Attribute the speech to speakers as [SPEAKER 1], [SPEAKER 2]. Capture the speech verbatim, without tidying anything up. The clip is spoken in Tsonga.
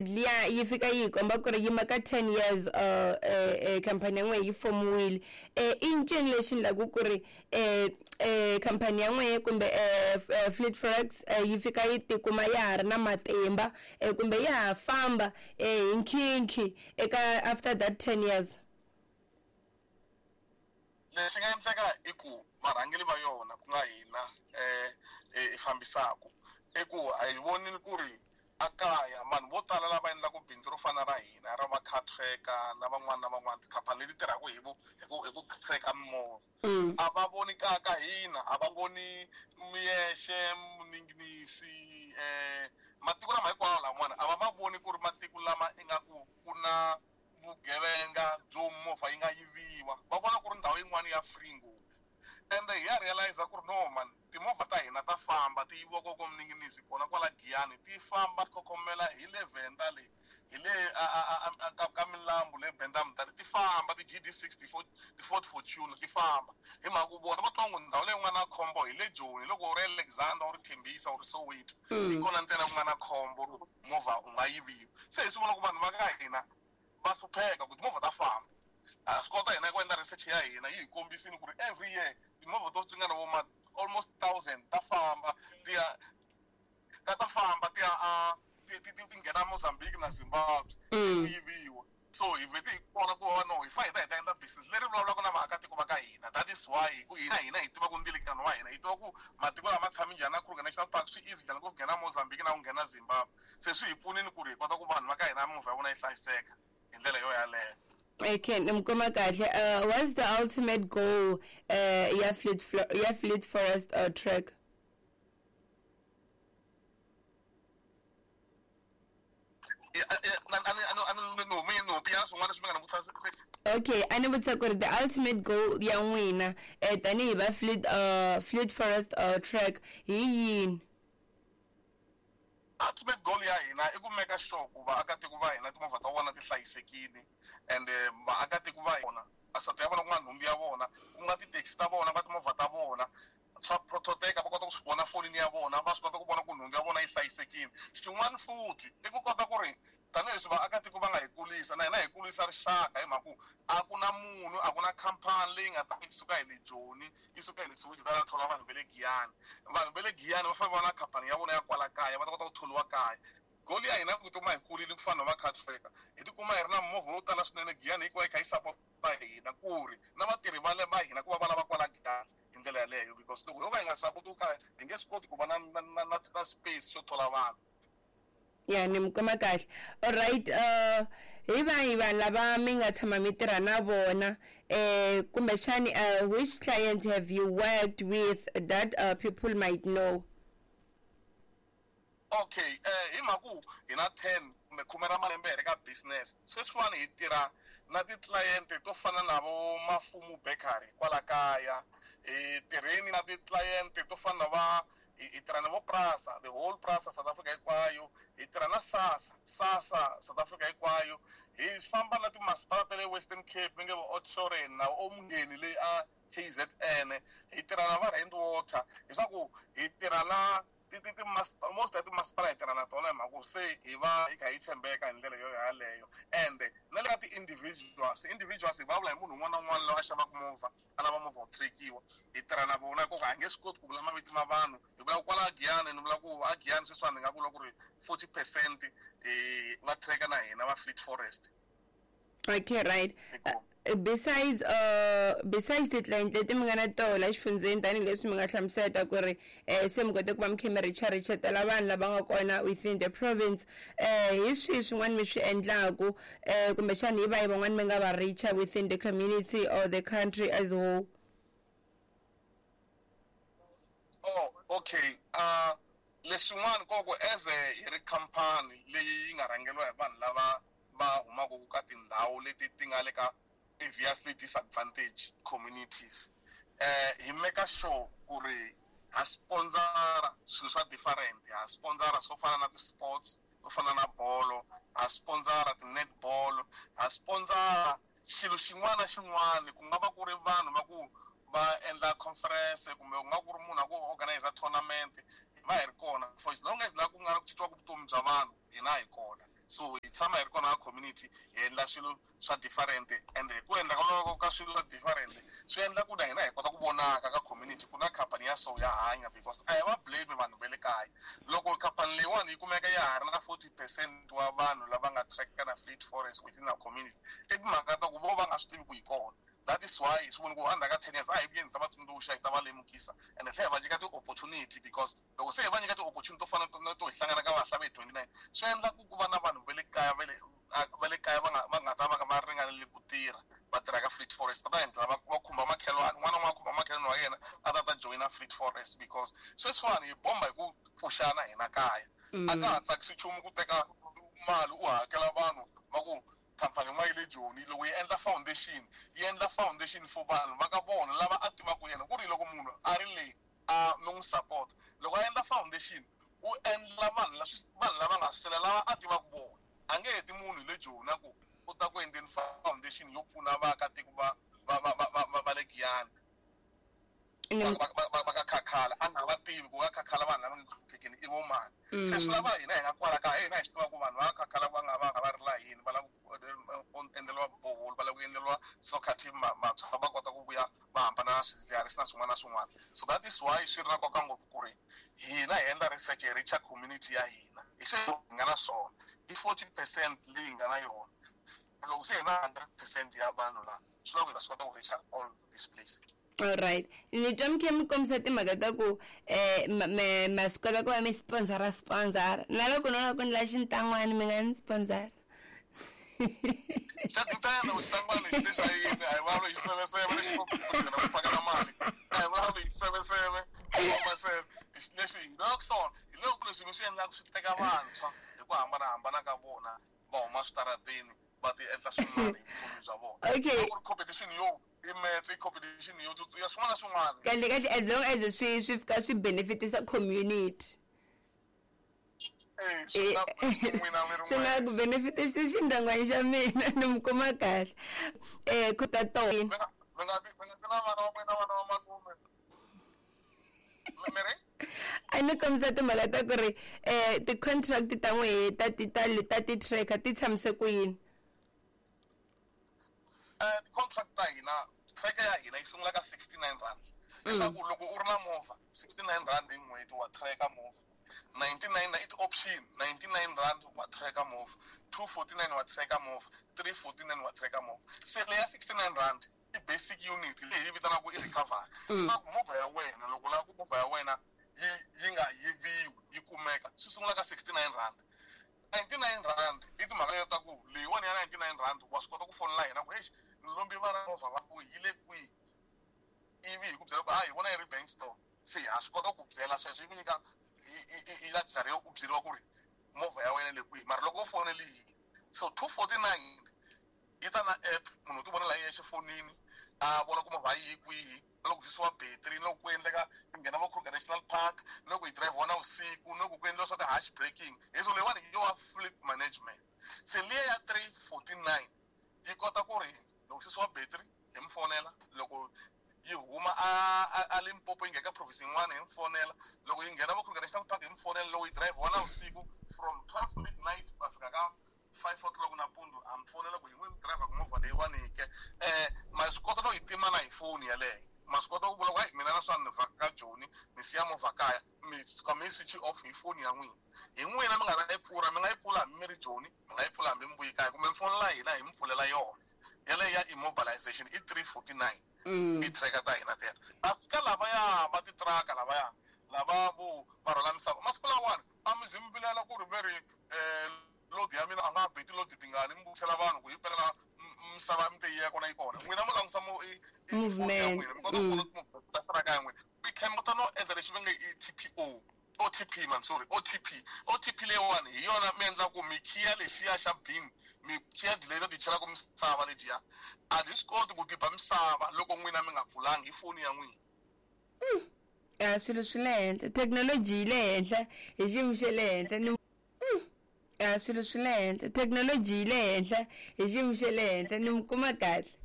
[SPEAKER 1] Liya yi fika yi komba ku ri yima ka ten years uh eh company ya n'we yi fomiwile. Eh i ncini lexi endlaku ku ri eh eh company ya n'we kumbe eh Fleet Forex yi fika yi tikuma ya ha ri na matimba eh kumbe ya ha famba eh hi nkhinkhi eka after that ten years?
[SPEAKER 2] Lexi nga endleka i ku varhangeri va yona ku nga hina eh hi fambisaku i ku a hi vonile ku ri a kaya vanhu vo tala lava endlaka bindzu ro fana ra hina ra va car tracker na van'wana na van'wana tikhampani leti tirhaka hi vu hi ku hi ku tracker mimovha a va voni kaya ka hina, a va voni Muyexe, Muninginisi, eh matiko lama hinkwawo lamawani a va ma voni ku ri matiko lama ingaku ku na vugevenga byo movha yi nga yiviwa, va vona ku ri ndhawu yin'wana ya free ngopfu. Ende hi ya realize ku ri no man, timovha ta hina ta famba ti yiviwa koko Muninginisi kona kwala Giyani, ti famba ti khokhomela hi le Venda le hi le a a a ka ka milambu le Benda-Mutale, ti famba ti G D sixty-four ti Ford Fortuner ti famba hi mhaka ku vona va twa ngo ndhawu leyi ku nga na khombo hi le Joni, loko u ri Alexander u ri Tembisa u ri Soweto hi kona ntsena ku nga na khombo movha u nga yiviwa. Se hi swi vona ku vanhu va ka hina va hlupheka ku timovha ta famba. Ha swi kota hina ku endla research ya hina yi hi kombisile ku ri every year timovha to ringana vo ma almost thousand ta famba ti ya ta ta famba ti ya a ti ti ti nghena Mozambique na Zimbabwe ti yiviwa. So hi vhete hi vona ku va no hi fa hi ta hi ta endla business leri vulavulaka na vaakatiko va ka hina. That is why hi ku hina hina hi tiva ku ndzilikano wa hina, hi tiva ku matiko lama tshami njhani na Kruger National Park swi easy njhani ku nghena Mozambique na ku nghena Zimbabwe. Se swi hi pfunile ku ri hi kota ku vanhu va ka hina mimovha ya vona yi hlayiseka hi ndlela yo yaleyo.
[SPEAKER 1] Okay, nimkoma kahle. Uh, what's the ultimate goal uh, ya Fleet ya Fleet Forest uh, Track? Okay, a ni vutisa ku ri the ultimate goal ya n'wina eh tanihi va Fleet uh, Fleet Forest uh, Track hi yini?
[SPEAKER 2] Ultimate goal ya hina i ku make sure ku vaakatiko va hina timovha ta vona ti hlayisekile and vaakatiko va hina asati ya vona ku nga nhundzu ya vona ku nga ti-taxi ta vona ku nga timovha ta vona swa prototeka va kota ku swi vona fonini ya vona va swi kota ku vona ku nhundzu ya vona yi hlayisekile. Xin'wana futhi i ku kota ku ri tanihileswi vaakatiko va nga hi kulisa na hina hi kulisa rixaka hi mhaka ku a ku na munhu a ku na khampani leyi nga ta yi suka hi le Joni yi suka hi le Soweto yi ta thola vanhu va le Giyani. Vanhu va le Giyani va fanele va na khampani ya vona ya kwala kaya va ta kota ku tholiwa kaya. Goal ya hina ku tikuma hi kulile ku fana na va car tracker hi tikuma hi ri na movha wo tala swinene Giyani hinkwayo yi kha yi sapota hina ku ri na vatirhi va le va hina ku va va lava kwala Giyani hi ndlela yaleyo because loko ho va hi nga sapoti kaya hi nge swi koti ku va na na na na na space xo thola vanhu.
[SPEAKER 1] Ya ni mi kuma kahle. Alright, uh hi vahi vanhu lava mi nga tshama mi tirha na vona eh kumbexani uh, which client have you worked with that uh, people might know?
[SPEAKER 2] Okay, eh hi mhaka ku hi na ten kumbe khume ra malembe hi ri ka business sweswiwani hi tirha na ti-client to fana na vo Mafumu Bakery kwala kaya, hi tirheni na ti-client to fana na va hi tirha na vo Prasa, the whole Prasa South Africa hinkwayo, hi tirha na SASSA, SASSA South Africa hinkwayo, hi famba na timasipala ta le Western Cape mi nge vo Oudtshoorn na Omngeni leyi a K Z N, hi tirha na va Rand Water, leswaku hi tirha na ti ti ti most ya timasipala hi tirha na tona hi mhaka ku se hi va hi kha hi tshembeka hi ndlela yo yaleyo. And na le ka ti-individuals, individuals hi vulavula hi munhu un'wana na un'wana loyi a xavaka movha a lava movha wu track-iwa hi tirha na vona hikuva a hi nge swi koti ku vula mavito ma vanhu. Hi vula ku kwala Giyani ni vula ku a Giyani sweswiwani ni nga vula ku ri forty percent va tracker na hina va Fleet Forest.
[SPEAKER 1] Okay, right. Uh, besides uh besides ti-client leti mi nga na tona exifundzeni tanihileswi mi nga hlamusela ku ri eh se mi kote ku va mi kha mi richa richetela vanhu lava nga kona within the province eh hi swihi swin'wana mi swi endlaku eh kumbexani hi vahi van'wani mi nga va richa within the community or the country as a whole?
[SPEAKER 2] Oh, okay. Uh leswin'wana koko as a hi ri khampani leyi yi nga rhangeriwa hi vanhu lava va humaka ka tindhawu leti ti nga le ka previously disadvantaged communities eh hi make sure ku ri ha sponsora swilo swa different, ha sponsora swo fana na ti-sports swo fana na bolo, ha sponsora ti-netball, ha sponsora xilo xin'wana na xin'wana ku nga va ku ri vanhu va ku va endla conference kumbe ku nga ku ri munhu a ku organize tournament hi va hi ri kona for as long as laha ku nga ku cinciwaka vutomi bya vanhu hina hi kona. So hi tshama hi ri kona ka community, hi endla swilo swa different, and hi ku endla ka ka swilo swa different swi endla ku na hina hi kota ku vonaka ka community ku na khampani ya so ya hanya, because a hi va blame vanhu va le kaya. Loko khampani leyiwani yi kumeka ya ha ri na forty percent wa vanhu lava nga track-a na Fleet Forest within our community, i timhaka ta ku vo va nga swi tivi ku yi kona. That is why swi voni ku endzhaku ka ten years a hi vuyeni hi ta va tsundzuxa, hi ta va lemukisa, and hi tlhela hi va nyika ti-opportunity, because loko se hi va nyika ti-opportunity to fana na to hi hlangana ka Vahlavi hi twenty-nine, swi endla ku ku va na vanhu va le kaya va le va le kaya va nga va nga ta va va ringanele ku tirha, va tirha ka Fleet Forest, va ta endla va va khumba makhelwani, un'wana na un'wana a khumba makhelwani wa yena a ta ta joyina Fleet Forest, because sweswiwani hi bomba hi ku pfuxana hina kaya. A ka ha tsakisi nchumu ku teka mali u hakela vanhu va ku khampani yin'wana yi le Joni, loko yi endla foundation, yi endla foundation for vanhu va ka vona lava a tivaka yena, ku ri loko munhu a ri le a mi n'wi support, loko a endla foundation u endla vanhu vanhu lava nga swela lava a tivaka vona. A nge heti munhu le Joni a ku u ta ku endleni foundation yo pfuna vaakatiko va va va va va va le Giyani, va ka Khakhala, a nga va tivi ku va Khakhala vanhu lava nga ku hluphekeni i vo mani. Se swi lava hina hi nga kwala kaya, hina hi swi tiva ku vanhu va Khakhala va nga va nga va ri la yini, va lava ku endleriwa borehole, va lava ku endleriwa soccer team, vantshwa va kota ku vuya va hambana na swidzidziharisi na swin'wana na swin'wana. So that is why swi ri na nkoka ngopfu ku ri hina hi endla research hi reach community ya hina, hi sweswi hi nga na swona, i forty percent leyi hi nga na yona. Loko se hi na hundred percent ya vanhu laha, swi lava ku hi ta swi kota ku reach all this place.
[SPEAKER 1] All right. Ni twa mi kha mi kombisa timhaka ta ku um ma swi kota ku va mi sponsora sponsora, na loko no lava ku endla xintan'wani mi nga ni sponsora.
[SPEAKER 2] Xa depend-a ku xintan'wani lexi xa yini, a hi vulavuli hi xiseveseve lexi ku ku phakela mali, a hi vulavuli hi xiseveseve maseve leswi hi nga swona, hi loko leswi mi swi endlaka swi teka vantshwa hi ku hambanahambana ka vona, va huma switarateni va ti endla swin'wana hi vutomi bya vona.
[SPEAKER 1] Okay.
[SPEAKER 2] Ku ri competition yo i metse, competition yo ya swin'wana na swin'wana.
[SPEAKER 1] Kahle kahle, as long as swi swi fika swi benefitisa community.
[SPEAKER 2] Eh, swi
[SPEAKER 1] swi nga ku benefitisi xindyangwana xa mina, ni mi kuma kahle. Eh ku ta to.
[SPEAKER 2] Mi nga mi nga mi nga na vana va n'wina, vana va malume. Mi ri?
[SPEAKER 1] A ni kombisa timhaka ta ku ri eh ti-contract ta n'wehe ta ti ta ta ti-tracker ti tshamise ku yini?
[SPEAKER 2] Eh ti-contract ta hina, tracker ya hina yi sungula ka sixty-nine rand. Leswaku loko u ri na movha, sixty-nine rand hi n'hweti wa tracker movha. ninety-nine i ti-option, ninety-nine rand wa tracker movha, two forty-nine wa tracker movha, three forty-nine wa tracker movha. Se leya sixty-nine rand i basic unit leyi hi vitanaka i recovery. Leswaku movha ya wena loko u lava ku movha ya wena yi yi nga yiviwi yi kumeka, swi sungula ka sixty-nine rand. ninety-nine rand i timhaka leti ta ku leyiwani ya ninety-nine rand wa swi kota ku fonela hina ku exi ni lombi vana movha va ku yi le kwihi, ivi hi ku byela ku a hi vona yi ri bank store, se ha swi kota ku byela sweswo yi ku nyika i luxury yo ku byeriwa ku ri movha ya wena le kwihi, mara loko u fonele yini. So two forty-nine yi ta na app, munhu u ti vonela hi yexe fonini a vona ku movha yi kwihi, na loko susiwa battery, na loko ku endleka ku nghena vo Kruger National Park, na loko yi drive na vusiku, na loko ku endliwa swa ti-harsh braking. Hi so leyiwani hi yo wa fleet management. Se liya ya three forty-nine yi kota ku ri loko susiwa battery hi mi fonela, loko yi huma a a Limpopo yi nghena ka province yin'wana hi mi fonela, loko yi nghena vo Kruger National Park hi mi fonela, loko yi drive na vusiku from twelve midnight ku ya fika ka five o'clock nampundzu a mi fonela ku hi n'wi driver ku movha leyiwani ke. Eh ma swi kota no yi tima na hi foni yaleyo, ma swi kota ku vula ku hayi mina na swa ni vhaka Joni ni siya movha kaya, mi suka mi switch off hi foni ya n'wina. Hi n'wina mi nga ta yi pfula, mi nga yi pfula hambi mi ri Joni, mi nga yi pfula hambi mi vuyi kaya, kumbe mi fonela hina hi mi pfulela yona. Yaleyo ya immobilization i three forty-nine. I tracker ta hina teto. Kasi ka lavaya va titiraka lavaya lava vo va rhwala misava masiku lawani a mi zi mi vilela ku ri ve ri um load ya mina a nga ha beti load tingani, mi vutisela vanhu ku yi pelela misava mi te yi ya kona yi kona. N'wina mo langusa mo i foni ya n'wina mi kota ku vona ta tiraka ya n'wina, mi tlhela mi kota no endla lexi va nge i T P O, O T P man, sorry, O T P. O T P leyiwani hi yona mi endla ku mi khiya lexiya xa bin, mi khiya dileta ti chelaka misava lediya, a ti swi koti ku diba misava loko n'wina mi nga pfulangi hi foni ya n'wina.
[SPEAKER 1] A swilo swi le henhla, thekinoloji yi le henhla hi xiyimo xa le henhla ni a swilo swi le henhla, thekinoloji yi le henhla hi xiyimo xa le henhla ni mi kuma kahle.